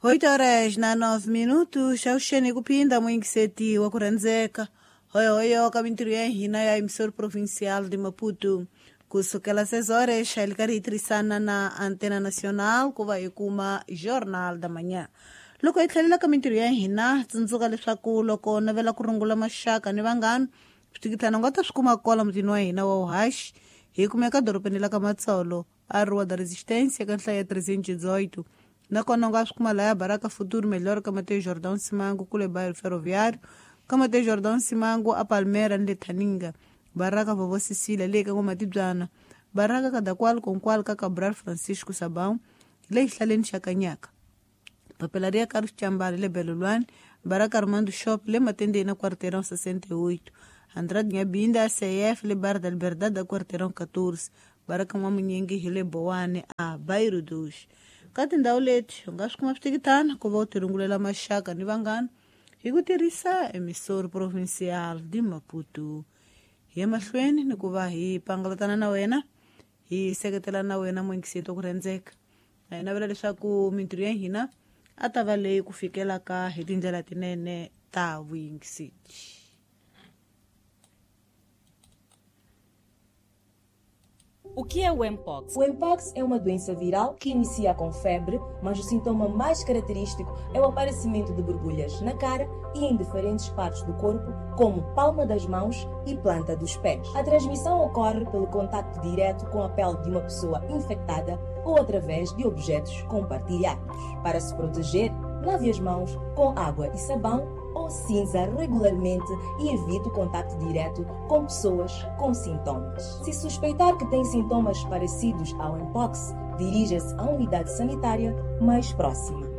8 horas na 9 minutos, auxene kupinda mwingiseti wa kurhandzeka hoyohoyo ka mintirho ya hina ya emissor provincial de Maputo. Kusukela 6 horas hi karhi hi tirhisana na Antena Nacional ku va hi kuma Jornal da Manhã. Loko hi tlhelela ka mintirho ya hina, tsundzuka leswaku loko navela ku rungula maxaka ni vanghana, switikitana u nga ta swi kuma kwala mutini wa hina wa Uhashi. Hi kumeka dorobeni la ka Matsolo, a Rua da Resistência, ka nhlayo ya 318. Nakona u nga swi kuma laya Baraka Futuro Melhor ka Mateo Jordão Simango kule bairro Ferroviário, ka Mateo Jordão Simango a Palmeiras ni le Thaninga, Baraka Vovó Cecília le ka N'wamatibyana, Baraka Kadakwal Konkwal ka Cabral Francisco Sabão le xihlaleni xa Kanyaka, Papelaria Carlos Chambali le Belolwane, Baraka Armando Shop le Matendeni na Quarteirão 68, Andrade Nhabinda CF le Bar da Liberdade da Quarteirão 14, Baraka N'wamunyingi hi le Bowane a Bairro dos. Ka tindhawu leti u nga swi kuma switikitana ku va u tirungulela maxaka ni vanghana hi ku tirhisa emissor provincial de Maputo. Hi ya mahlweni ni ku va hi pangalatana na wena, hi seketela na wena mwingiseti wa ku rhandzeka. Hi navela leswaku mintirho ya hina a ta va leyi ku fikelaka hi tindlela tinene ta vuyingiseti. O que é o Mpox? O Mpox é uma doença viral que inicia com febre, mas o sintoma mais característico é o aparecimento de borbulhas na cara e em diferentes partes do corpo, como palma das mãos e planta dos pés. A transmissão ocorre pelo contacto direto com a pele de uma pessoa infectada ou através de objetos compartilhados. Para se proteger, lave as mãos com água e sabão ou cinza regularmente e evite o contacto direto com pessoas com sintomas. Se suspeitar que tem sintomas parecidos ao Mpox, dirija-se à unidade sanitária mais próxima.